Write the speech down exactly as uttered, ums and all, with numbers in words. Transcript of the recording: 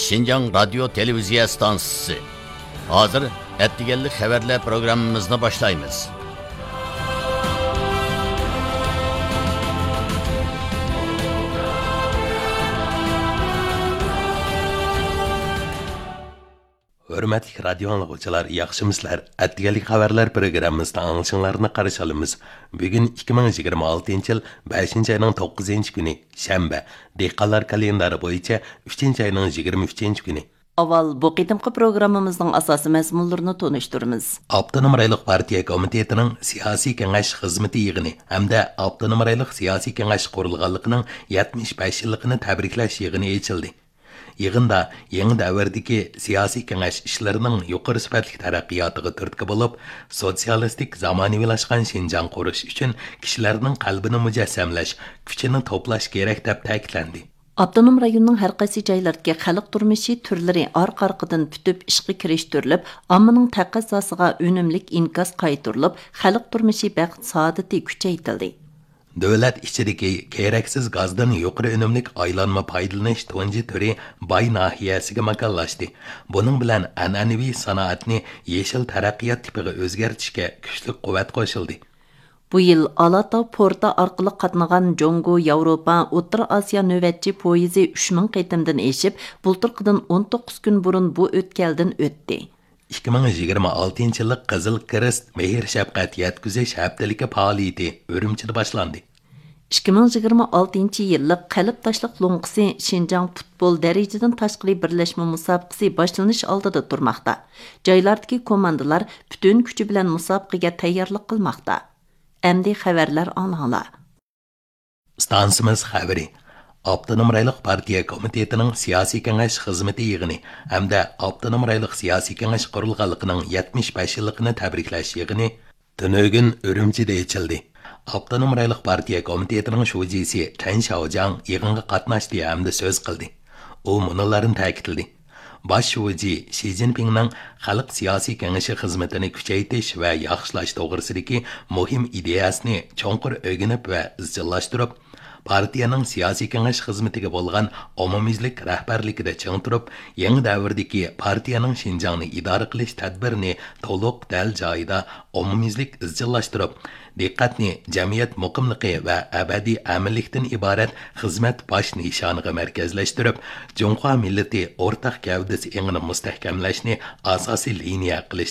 شىنجاڭ رادىيو تېلېۋىزىيە ئىستانسىسى. ھازىر ئەتىگەنلىك خەۋەرلەر پروگراممىمىزنى باشلايمىز. ھۆرمەتلىك رادىيو ئاڭلىغۇچىلار، ياخشىمۇسىلەر؟ ئەتىگەنلىك خەۋەرلەر پروگراممىسىدا ئاڭلىشىڭلارنى قارشى ئالىمىز. بۈگۈن ئىككى مىڭ يىگىرمە ئالتىنچى يىل بەشىنچى ئاينىڭ توققۇزىنچى كۈنى، شەنبە. دېھقانلار كالېندارى بويىچە ئۈچىنچى ئاينىڭ يىگىرمە ئۈچىنچى كۈنى. ئاۋۋال بۇ قېتىمقى پروگراممىمىزنىڭ ئاساسىي مەزمۇنلىرىنى تونۇشتۇرىمىز. ئاپتونوم رايونلۇق پارتىيە كومىتېتىنىڭ سىياسىي كېڭەش خىزمىتى يىغىنى ھەمدە ئاپتونوم رايونلۇق سىياسىي كېڭەش قۇرۇلغانلىقىنىڭ يەتمىش بەش يىللىقىنى تەبرىكلەش يىغىنى ئېچىلدى. يىغىندا يېڭى دەۋردىكى سىياسىي كېڭەش ئىشلىرىنىڭ يۇقىرى سۈپەتلىك تەرەققىياتىغا تۈرتكە بولۇپ، سوتسىيالىستىك زامانىۋىلاشقان شىنجاڭ قۇرۇش ئۈچۈن كىشىلەرنىڭ قەلبىنى مۇجەسسەملەش، كۈچىنى توپلاش كېرەك، دەپ تەكىتلەندى. ئاپتونوم رايوننىڭ ھەر قايسى جايلىرىدىكى خەلق تۇرمۇشى تۈرلىرى ئارقا-ئارقىدىن پۈتۈپ ئىشقا كىرىشتۈرۈلۈپ، ئاممىنىڭ تەقەززاسىغا ئۈنۈملۈك ئىنكاس قايتۇرۇلۇپ، خەلق تۇرمۇشى بەخت-سائادىتى كۈچەيتىلدى. دۆلەت ئىچىدىكى كېرەكسىز گازدىن يۇقىرى ئۈنۈملۈك ئايلانما پايدىلىنىش تۇنجى تۈرى باي ناھىيەسىگە ماكانلاشتى. بۇنىڭ بىلەن ئەنئەنىۋى سانائەتنى يېشىل تەرەققىيات تىپىغا ئۆزگەرتىشكە كۈچلۈك قۇۋۋەت قوشۇلدى. بۇ يىل ئالاتاۋ پورتى ئارقىلىق قاتنىغان جۇڭگو، ياۋروپا، ئوتتۇرا ئاسىيا نۆۋەتچى پويىزى ئۈچ مىڭ قېتىمدىن ئېشىپ، بۇلتۇرقىدىن ئون توققۇز كۈن بۇرۇن بۇ ئۆتكەلدىن ئۆتتى. ئىككى مىڭ يىگىرمە ئالتىنچى يىللىق قىزىل كىرېست مېھىر شەپقەت يەتكۈزۈش ھەپتىلىكى پائالىيىتى ئۈرۈمچىدە باشلاندى. ئىككى مىڭ يىگىرمە ئالتىنچى يىللىق قەلب تاشلىق لوڭقىسى شىنجاڭ پۇتبول دەرىجىدىن تاشقىرى بىرلەشمە مۇسابىقىسى باشلىنىش ئالدىدا تۇرماقتا. جايلاردىكى كوماندىلار پۈتۈن كۈچى بىلەن مۇسابىقىگە تەييارلىق قىلماقتا. ئەمدى خەۋەرلەر ئاڭلاڭلار. ئىستانسىمىز خەۋىرى. ئاپتونوم رايونلۇق پارتىيە كومىتېتىنىڭ سىياسىي كېڭەش خىزمىتى يىغىنى ھەمدە ئاپتونوم رايونلۇق سىياسىي كېڭەش قۇرۇلغانلىقىنىڭ يەتمىش بەش يىللىقىنى تەبرىكلەش يىغىنى تۈنۈگۈن ئۈرۈمچىدە ئېچىلدى. ئاپتونوم رايونلۇق پارتىيە كومىتېتىنىڭ شۇجىسى تەن شياۋجياڭ يىغىنغا قاتناشتى ھەمدە سۆز قىلدى. ئۇ مۇنۇلارنى تەكىتلىدى. باش شۇجى شى جىنپىڭنىڭ خەلق سىياسىي كېڭىشى خىزمىتىنى كۈچەيتىش ۋە ياخشىلاش توغرىسىدىكى مۇھىم ئىدىيەسىنى چوڭقۇر ئۆگىنىپ ۋە ئىزچىللاشتۇرۇپ، پارتىيەنىڭ سىياسىي كېڭەش خىزمىتىگە بولغان ئومۇميۈزلۈك رەھبەرلىكىدە چىڭ تۇرۇپ، يېڭى دەۋردىكى پارتىيەنىڭ شىنجاڭنى ئىدارە قىلىش تەدبىرىنى تولۇق، دەل جايىدا، ئومۇميۈزلۈك ئىزچىللاشتۇرۇپ، دىققەتنى جەمئىيەت مۇقىملىقى ۋە ئەبەدىي ئەمىنلىكتىن ئىبارەت خىزمەت باش نىشانىغا مەركەزلەشتۈرۈپ، جۇڭخۇا مىللىتى ئورتاق گەۋدىسى ئېڭىنى مۇستەھكەملەشنى ئاساسىي لىنىيە قىلىش